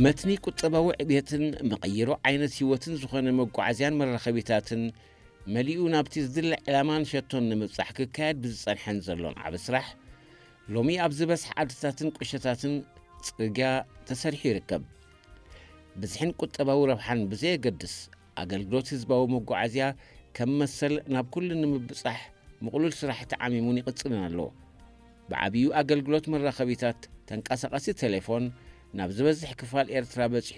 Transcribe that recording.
መትኒ ቁጠባዊ ዕብየትን መቐይሮ ዓይነት ህይወትን ዝኾነ መጓዓዝያን መራኸቢታትን መሊኡ ናብቲ ዝድለ ዕላማን ሸቶን ንምብጻሕ ክካየድ ብዝጸንሐን ዘሎን ዓቢ ስራሕ፣ ሎሚ ኣብ ዝበዝሐ ዓድታትን ቁሸታትን ጽርግያ ተሰሪሑ ይርከብ። ብዝሕን ቁጠባዊ ረብሓን ብዘየገድስ፣ ኣገልግሎት ህዝባዊ መጓዓዝያ ከም መሰል ናብ ኩሉ ንምብጻሕ ምቕሉል ስራሕ ተዓሚሙን ይቕጽልን ኣሎ። ብዓብዩ ኣገልግሎት መራኸቢታት ተንቀሳቐሲ ቴሌፎን ናብ ዝበዝሕ ክፋል ኤርትራ በጺሑ